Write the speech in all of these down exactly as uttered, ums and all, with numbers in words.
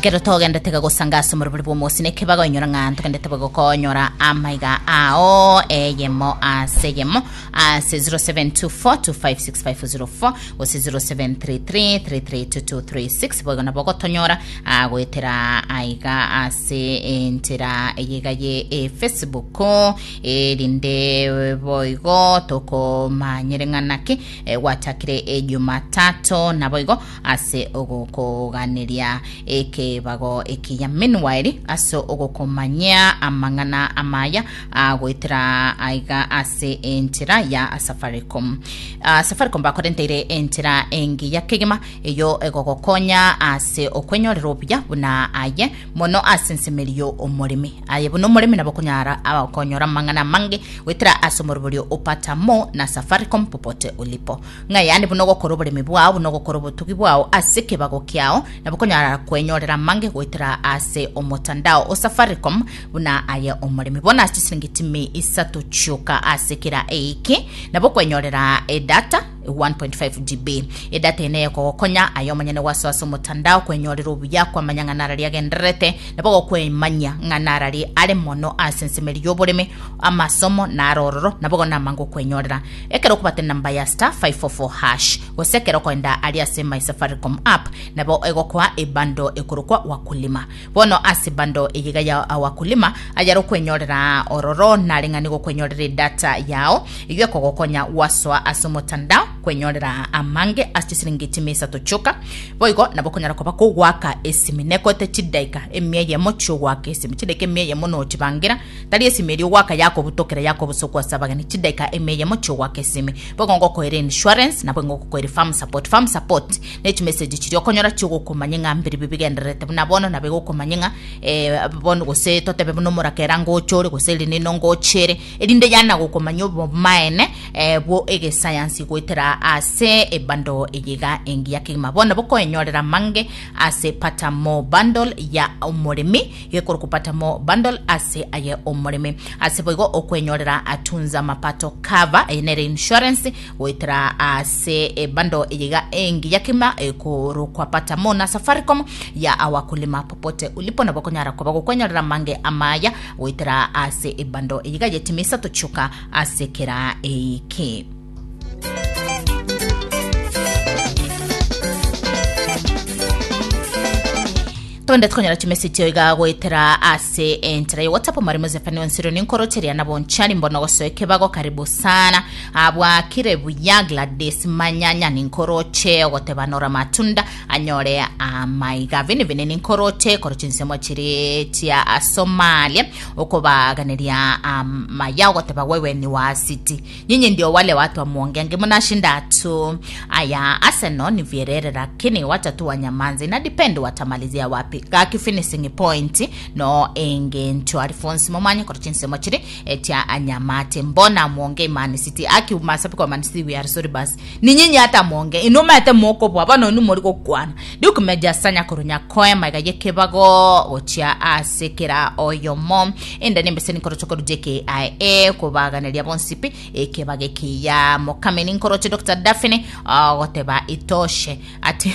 Kero togendete gagosanga ase omorobori bwa omosi na ekebago inyora ng'a ntogendete bagokonyora amaiga ao eyemo ase eyemo ase zero seven two four two five six five zero four gose zero seven three three three three two two three six. Boigo nabo ogotonyora ah, goetera aiga ase enchera eyega ye e Facebook, erinde boigo tokomanyere ng'a naki eh, gwachakire Ejumatatu naboigo ase ogokoganeria ekebago ekiya. Meanwhile, ase ogokomanyia amang'ana amaya agoetera aiga ase enchera ya Safaricom. uh, Safaricom bakorenteire enchera engiya kegima eyo egogokonya ase okwenyorera obuya buna aye mono ase ensemerio omoremi aye buna omoremi nabo okonyara okonyora amang'ana amange goetera ase omoroborio opata mo na Safaricom popote ulipo, ng'a yaani buna ogokora oboremi bwao, buna ogokora obotugi bwao ase ekebago kiao, nabo okonyara kwenyorera amange goetera ase omotandao o Safaricom buna aye omoremi. Bono ase chisiringi timi isato chioka ase kera eiki nabo okwenyorera edata one point five G B. Edata ene ekogokonya aye omonyene gwasoa ase omotandao kwenyorera obuya, kwamanya ng'a narari agendererete, nabo gokwemanya ng'a narari are mono ase ensemeri y'oboremi, amasomo naro ororo, nabo igo namange okwenyorera ekero okobata enamba ya star five four four hash gose ekero okoenda ari ase My Safaricom app, nabo egokoa ebando ekorokwa Wakulima. Bono ase bando eyiga ya Wakulima ayare okwenyorera ororo nare ng'a nigo okwenyorera edata yao eywo ekogokonya gwasoa ase omotandao kwenyorera amange ase chisiringi chimi isato chioka. Boigo nabo okonyara koba kogwaka esimi nekoete chidaika emia eyemo chiogwaka esimi, chidaika emia eyemo nochibangira, tari esimi eria ogwaka yakobutokera yakobosokwa ase abageni, chidaika emia eyemo chiogwaka esimi. Boigo ngokoera insurance, nabo ngokoera farm support. Farm support ne chimessage chiria okonyora chiogokomanya ng'a mbiribi bigendererete buna bono, nabo egokomanya ng'a eh, bono gose totebe buna omorakera ngochore gose rinino ngochere, erinde yana gokomanya obomaene eh, bwo egesayansi goetera ase ebando eyiga engiya kegima. Bono bokoenyorera mange ase Patamo bundle ya omoremi, gekorokwa Patamo bundle ase aye omoremi. Ase boigo okwenyorera atunza mapato cover, eye nere insurance goetera ase ebando eyiga engiya kegima ekorokwa Patamo na Safaricom ya awakulima popote ulipo. Nabo okonyara koba gokwenyorera mange amaya goetera ase ebando eyiga yetimisa tochuka ase kera eiki. Twende tukonyora chimessage iga goetera ase enchera ya WhatsApp. Mwarimu Zefani Onsiro ninkorocheria nabo nchari mbono gosoe kebago, karibu sana abwakire buya. Gladys Manyanya ninkoroche ogoteba nora matunda anyore amaiga. Vini vini ninkoroche koro chinsemo chiri chia Somalia okobaganeria amaya, ogoteba wewe ni wa City, nyinyi ndio wale watu wa muongeange mnashinda tu. Aya, Arsenal ni vierere lakini wacha tu wanyamanze, na depend watamalizia wapi gaki finishing point no engento. Alphonse momanye koro chinsemo chiri etia anyamate, mbona muonge Man City aki masapi kwa Man City, we are sorry, basi ni nyinyi hata muonge inumete moko bwa bano inu muri gokwana dukumeja sanya korunya koe maiga yekebago gochia ase kera oyomo enda nembese nikoro chokoro J K I A kubaganeria bonsipi ekebage kiya mokame ninkoroche Doctor Daphne goteba itoshe ati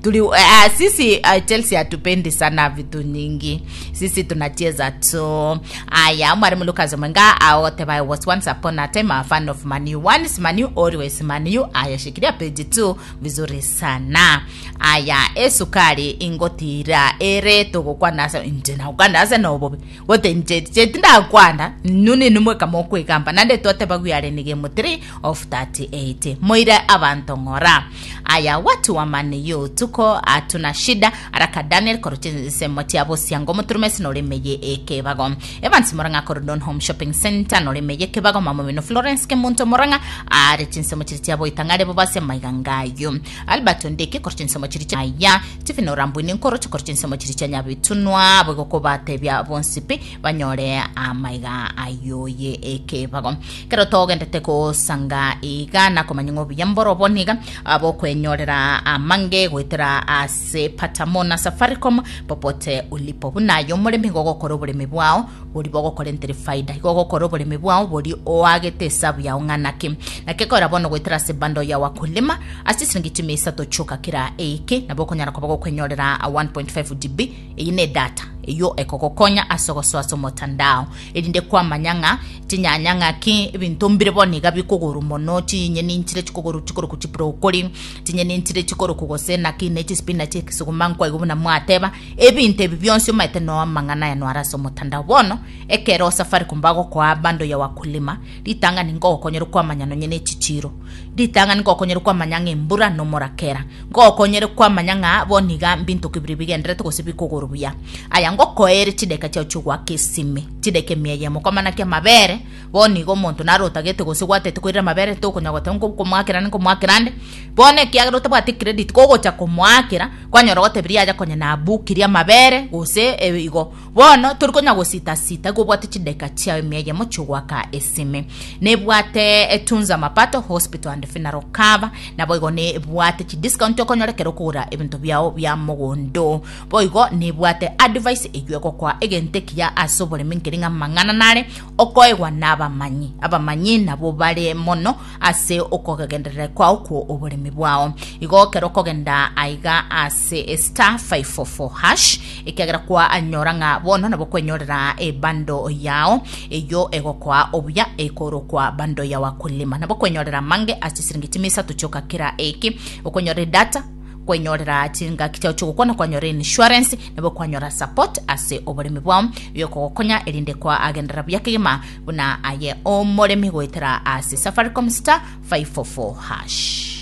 tuli uh, sisi uh, Chelsea hatupendi sana vitu nyingi, sisi tunacheza tu. Aya, mwalimu Lucas Mwenga agoteba I was once upon a time a fan of Man U, once Man U always Man U. Aya, shikilia page two vizuri sana. Aya, esukari ingotira ere tugukwana ase nje nakwana ase nobobe gote nje chetindakwana nuni nimwe kamokwigamba nande twateba gwiyare ni game three of thirty-eight moire abantu ng'ora. Aya, watu wa Man U tuko hatuna shida. Araka Daniel korochinsemo chia bosiango muturumesi norimeye ekebago. Evans Moranga Korodon Home Shopping Center norimeye ekebago. Mama mino Florence Kemunto Moranga are chinsemo chiri chia boitang'are bobase maigangayo. Albert Ondeke korochinsemo chiri chia aya Stephen Orambwini nkoroche korochinsemo chiri chia Nyabitunwa bogokobatebia bonsipi banyore amaiga ayoye ekebago. Kero togendete kosanga iga nakomanya ng'o buya mborobo niga abokwenyorera amange goetera Goetera ase Patamona Safaricom popote ulipo. Buna aye omoremi, gogokora oboremi bwao bori bogokorentere faida, igo ogokora oboremi bwao bori oagete esabu yao ng'anaki nake kora bono goetera ase bando ya Wakulima ase siringi chimi isato choka kira eike, nabo okonyara koba gokwenyorera one point five G B. Eyi ne data eyo ekogokonya ase ogosoa ase omotandao, erinde kwamanya ng'a chinyanya ng'aki, ebinto mbire bono iga bikogoro mono, chinyeni nchire chikogoro chikoroku chibrokoli, chinyeni nchire chikoroku gose naki ne chispinach, ekesuguma nkwaigo buna mwateba. Ebinto ebi bionsi omanyete no amang'ana aya noara ase omotandao. Bono ekero Safaricom bagokoa bando ya Wakulima, ritang'ani ngogokonyera kwamanya nonye ne chichiro, ritang'ani ngogokonyera kwamanya ng'a embura nomorakera, ngogokonyere kwamanya ng'a bono iga mbinto kibiri bigenderete gose bikogoro buya. Aya ngokoere chideka chiao chigoaka esime, chideka emia eyemo kwamana ki amabere. Bono iga omonto naro otagete gose gwatete koirera amabere, tokonya goteba nkomoakera nkomoakera ande bono, ekiagera otabwati credit kogocha komoakera, kwanyora gotebiria aja konya nabukirie amabere gose eh, igo bono tori konya gosita sita. Igo obwate chideka chiao emia eyemo chigoaka esime, nebwate etunza mapato hospital and funeral cover, nabo igo nebwate chidiscount okonyora ekero okogora ebinto biao bia mogondo. Boigo nebwate advice eywo egokoa egento ekiya ase oboremi, nkeri ng'a mang'ana nare okoegwa na abamanyi. Abamanyi nabo bare mono ase okogenderera kwao kwo oboremi bwao. Igo ekero okogenda aiga ase star five four four hash, ekiagera kwa anyora ng'a bono nabo kwenyorera ebando yao eyo egokoa obuya ekorokwa bando ya Wakulima, nabo kwenyorera mange ase siringi chimisatu chioka kira eki, okwenyorera data, kwenyorera chingaki chiao chigokwana, kwanyora insurance, nabo kwanyora support ase oboremi bwao biokogokonya, erinde kwa agenderera buya kegima buna aye omoremi goetera ase Safaricom star five four four hash.